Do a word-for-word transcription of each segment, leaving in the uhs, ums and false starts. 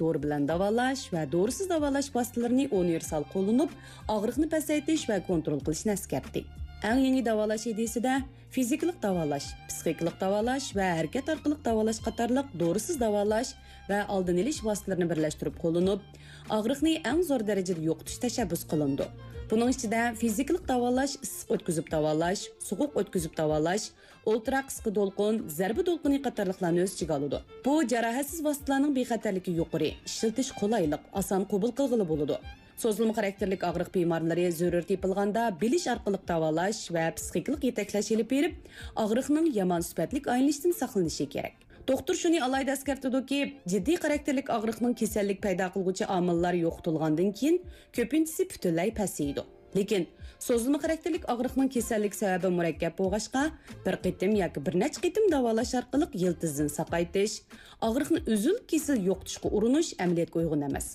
دورا بىلەن داۋالاش ۋە دورىسىز داۋالاش ۋاسىتىلىرىنى ئۇنىۋېرسال قوللىنىپ، ئاغرىقنى پەسەيتىش ۋە كونترول قىلىشنى ئەسكەرتتى. ئەڭ يېڭى داۋالاش ئىدىيىسىدە فىزىكىلىق داۋالاش، پىسخىكىلىق داۋالاش ۋە ھەرىكەت ئارقىلىق داۋالاش قاتارلىق دورىسىز داۋالاش ۋە ئالدىنى ئېلىش ۋاسىتىلىرىنى بىرلەشتۈرۈپ قوللىنىپ، ئاغرىقنى ئەڭ زور دەرىجىدە يوقىتىش تەشەببۇس قىلىنىدۇ. بۇنىڭ ئىچىدە فىزىكىلىق داۋالاش، ئىسسىق ئۆتكۈزۈپ داۋالاش، سوغۇق ئۆتكۈزۈپ داۋالاش، ئولتۇراق قىسقا دولقۇن، زەربە دولقۇنى قاتارلىقلارنى ئۆز ئىچىگە ئالىدۇ. بۇ جاراھەتسىز ۋاسىتىلەرنىڭ بىخەتەرلىكى يۇقىرى، ئىشلىتىش قولايلىق، ئاسان قوبۇل قىلغىلى بولىدۇ. سوزۇلما خاراكتېرلىك ئاغرىق بىمارلىرى زۆرۈر تېپىلغاندا بىلىش ئارقىلىق داۋالاش ۋە پىسخىكىلىق يېتەكلەش ئېلىپ بېرىپ، ئاغرىقنىڭ يامان سۈپەتلىك ئايلىنىشىدىن ساقلىنىشى كېرەك. دوختۇر شۇنى ئالاھىدە ئەسكەرتىدۇكى، جىددىي خاراكتېرلىك ئاغرىقنىڭ كېسەللىك پەيدا قىلغۇچى ئامىللار يوقىتىلغاندىن كېيىن، كۆپىنچىسى پۈتۈنلەي پەسىيىدۇ. لېكىن سوزۇلما خاراكتېرلىك ئاغرىقنىڭ كېسەللىك سەۋەبى مۇرەككەپ بولغاچقا، بىر قېتىم ياكى بىر نەچچە قېتىم داۋالاش ئارقىلىق يىلتىزدىن ساقايتىش، ئاغرىقنى ئۈزۈل-كېسىل يوقىتىشقا ئۇرۇنۇش ئەمەلىيەتكە ئۇيغۇن ئەمەس.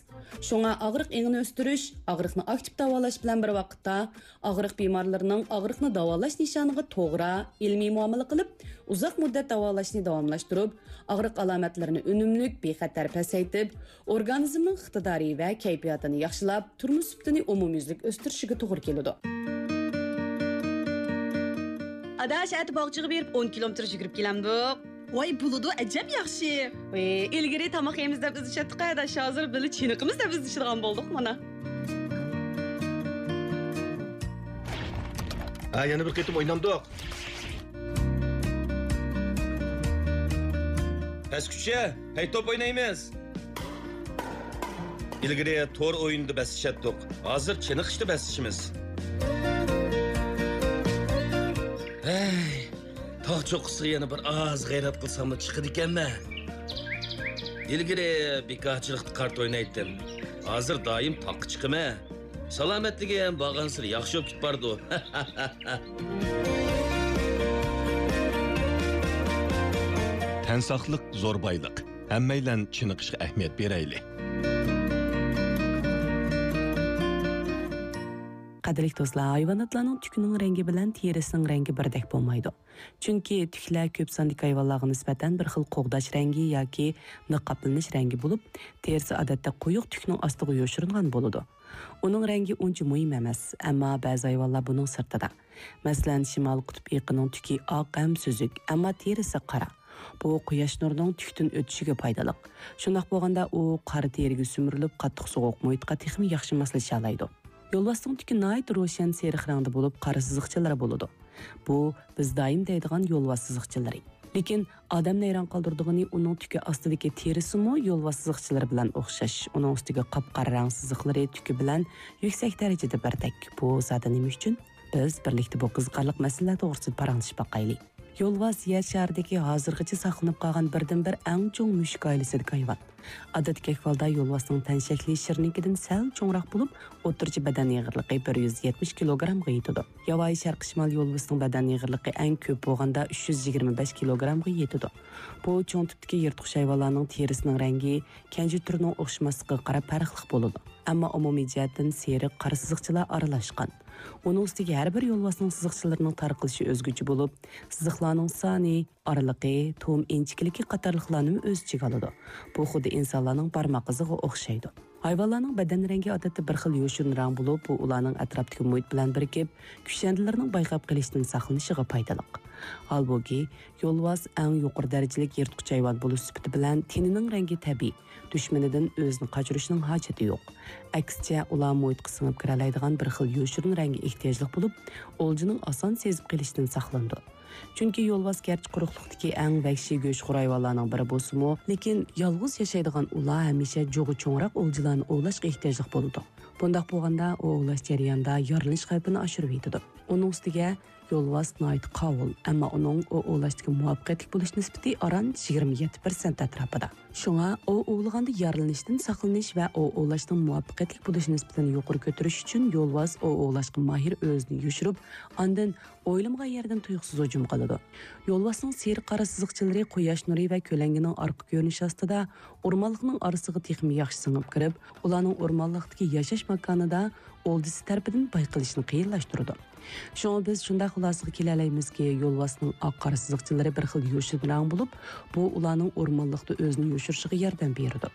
شۇڭا ئاغرىق ئېڭىنى ئۆستۈرۈش، ئاغرىقنى ئاكتىپ داۋالاش بىلەن بىر ۋاقىتتا، ئاغرىق بىمارلىرىنىڭ ئاغرىقنى داۋالاش نىشانىغا توغرا، ئىلمىي مۇئامىلە قىلىپ، ئۇزاق مۇددەت داۋالاشنى داۋاملاشتۇرۇپ، ئاغرىق ئالامەتلىرىنى ئۈنۈملۈك، بىخەتەر پەسەيتىپ، ئورگانىزمنىڭ ئىقتىدارى ۋە كەيپىياتىنى ياخشىلاپ، تۇرمۇش سۈپىتىنى ئومۇميۈزلۈك ئۆستۈرۈشىگە توغرا كېلىدۇ. ئاداش، ئەتە باغچىغا بېرىپ ئون كىلومېتىر يۈگۈرۈپ كېلەمدۇق. ۋاي، بولىدۇ، ئەجەب ياخشى. ئىلگىرى تاماق يەيمىز دەپ ئىزدىشەتتۇق ئاداش، ھازىر بىللە چېنىقىمىز دەپ ئىزدىشىدىغان بولدۇق مانا. ھە، يەنە بىر قېتىم ئوينامدۇق. پەسكۈچە، ھەي توپ ئوينايمىز. ئىلگىرى تور ئويۇندا بەسلىشەتتۇق. ھازىر چېنىقىشتا بەسلىشىمىز. ھەي، تاغ چوققىسىغا يەنە بىر ئاز غەيرەت قىلساممۇ چىقىدىكەنمەن. ئىلگىرى بىكارچىلىقتا قارت ئوينايتتىم. ھازىر دائىم تاغقا چىقىمەن. سالامەتلىكىم بارغانسېرى ياخشى بولۇپ كېتىپ بارىدۇ. تەن ساقلىق زور بايلىق. ھەممەيلەن چېنىقىشقا ئەھمىيەت بېرەيلى. قەدىرلىك دوستلار، ھايۋاناتلارنىڭ تۈكىنىڭ رەڭگى بىلەن تېرىسىنىڭ رەڭگى بىردەك بولمايدۇ. چۈنكى تۈكلەر كۆپ ساندىكى ھايۋانلارغا نىسبەتەن بىر خىل قوغداش رەڭگى ياكى نىقابلىنىش رەڭگى بولۇپ، تېرىسى ئادەتتە قويۇق تۈكنىڭ ئاستىغا يوشۇرۇنغان بولىدۇ. ئۇنىڭ رەڭگى ئۇنچە مۇھىم ئەمەس، ئەمما بەزى ھايۋانلار بۇنىڭ سىرتىدا. مەسىلەن، شىمالىي قۇتۇپ ئېيىقىنىڭ تۈكى ئاق ھەم سۈزۈك، ئەمما تېرىسى قارا. بۇ قۇياش نۇرىنىڭ تۈكتىن ئۆتۈشىگە پايدىلىق. شۇنداق بولغاندا، ئۇ قارا تېرىگە سۈمۈرۈلۈپ، قاتتىق سوغۇق مۇھىتقا تېخىمۇ ياخشى ماسلىشالايدۇ. يولۋاستىڭ تۈكى ناھايىتى روشەن سېرىق رەڭدە بولۇپ، قارا سىزىقچىلىرى بولىدۇ. بۇ بىز دائىم دەيدىغان يولۋاس سىزىقچىلىرى. لېكىن ئادەمنى ھەيران قالدۇرىدىغىنى، ئۇنىڭ تۈكى ئاستىدىكى تېرىسىمۇ يولۋاس سىزىقچىلىرى بىلەن ئوخشاش. ئۇنىڭ ئۈستىگە قاپقارا رەڭ سىزىقلىرى تۈكى بىلەن يۈكسەك دەرىجىدە بىردەك. بۇ زادى نېمە ئۈچۈن؟ بىز بىرلىكتە بۇ قىزىقارلىق مەسىلىلەر توغرىسىدا پاراڭلىشىپ باقايلى. يولۋاس يەر شارىدىكى ھازىرغىچە ساقلىنىپ قالغان بىردىنبىر ئەڭ چوڭ مۈشۈك ئائىلىسىدىكى ھايۋان. ئادەتتىكى ئەھۋالدا يولۋاسنىڭ تەن شەكلى شىرنىڭكىدىن سەل چوڭراق بولۇپ، ئوتتۇرىچە بەدەن ئېغىرلىقى بىر يۈز يەتمىش كىلوگرامغا يېتىدۇ. ياۋايى شەرقىي شىمال يولۋىسىنىڭ بەدەن ئېغىرلىقى ئەڭ كۆپ بولغاندا ئۈچ يۈز يىگىرمە بەش كىلوگرامغا يېتىدۇ. بۇ چوڭ تىپتىكى يىرتقۇچ ھايۋانلارنىڭ تېرىسىنىڭ رەڭگى كەنجى تۈرىنىڭ ئوخشىماسلىقىغا قاراپ پەرقلىق بولىدۇ. ئەمما ئومۇمىي جەھەتتىن سېرىق، قارا سىزىقچىلار ئارىلاشقان. ئۇنىڭ ئۈستىگە ھەر بىر يولۋاسنىڭ سىزىقچىلىرىنىڭ تارقىلىشى ئۆزگىچە بولۇپ، سىزىقلارنىڭ سانى، ئارىلىقى، تۇغۇم ئىنچىكىلىكى قاتارلىقلارنىمۇ ئۆز ئىچىگە ئالىدۇ. بۇ خۇددى ئىنسانلارنىڭ بارماق ئىزىغا ئوخشايدۇ. ھايۋانلارنىڭ بەدەن رەڭگى ئادەتتە بىر خىل يوشۇرۇن رەڭ بولۇپ، بۇ ئۇلارنىڭ ئەتراپتىكى مۇھىت بىلەن بىرىكىپ، كۈشەندىلىرىنىڭ بايقاپ قېلىشتىن ساقلىنىشىغا پايدىلىق. ھالبۇكى، يولۋاس ئەڭ يۇقىرى دەرىجىلىك يىرتقۇچ ھايۋان بولۇش سۈپىتى بىلەن تېنىنىڭ رەڭگى تەبىئىي، دۈشمىنىدىن ئۆزىنى قاچۇرۇشنىڭ ھاجىتى يوق. ئەكسىچە، ئۇلار مۇھىتقا سىڭىپ كىرەلەيدىغان بىر خىل يوشۇرۇن رەڭگە ئېھتىياجلىق بولۇپ، ئولجىنىڭ ئاسان سېزىپ قېلىشىدىن ساقلىنىدۇ. چۈنكى يولۋاس گەرچە قۇرۇقلۇقتىكى ئەڭ ۋەھشىي گۆشخور ھايۋانلارنىڭ بىرى بولسىمۇ، لېكىن يالغۇز ياشايدىغان ئۇلار ھەمىشە جۇغى چوڭراق ئولجىلارنى ئوۋلاشقا ئېھتىياجلىق بولىدۇ. بۇنداق بولغاندا، ئۇ ئوۋلاش جەريانىدا يارىلىنىش خەۋپىنى ئاشۇرۇۋېتىدۇ. ئۇنىڭ ئۈستىگە، يولۋاس ناھايىتى قاۋۇل، ئەمما ئۇنىڭ ئوۋ ئوۋلاشتىكى مۇۋەپپەقىيەتلىك بولۇش نىسبىتى ئاران يىگىرمە يەتتە پىرسەنت ئەتراپىدا. شۇڭا ئوۋ ئوۋلىغاندا يارىلىنىشتىن ساقلىنىش ۋە ئوۋ ئوۋلاشنىڭ مۇۋەپپەقىيەتلىك بولۇش نىسبىتىنى يۇقىرى كۆتۈرۈش ئۈچۈن يولۋاس ئوۋ ئوۋلاشقا ماھىر ئۆزىنى يوشۇرۇپ، ئاندىن ئويلىمىغان يەردىن تۇيۇقسىز ھۇجۇم قىلىدۇ. يولۋاسنىڭ سېرىق قارا سىزىقچىلىرى قۇياش نۇرى ۋە كۆلەڭگىنىڭ ئارقا كۆرۈنۈشى ئاستىدا ئورمانلىقنىڭ ئارىسىغا تېخىمۇ ياخشى سىڭىپ كىرىپ، ئۇلارنىڭ ئورمانلىقتىكى ياشاش ماكانىدا ئولجىسى تەرىپىدىن بايقىلىشىنى قىيىنلاشتۇرىدۇ. شۇڭا بىز شۇنداق خۇلاسىگە كېلەلەيمىزكى، يولۋاسنىڭ ئاق قارا سىزىقچىلىرى بىر خىل يوشۇرۇن رەڭ بولۇپ، بۇ ئۇلارنىڭ ئورمانلىقتا ئۆزىنى يوشۇرۇشىغا ياردەم بېرىدۇ.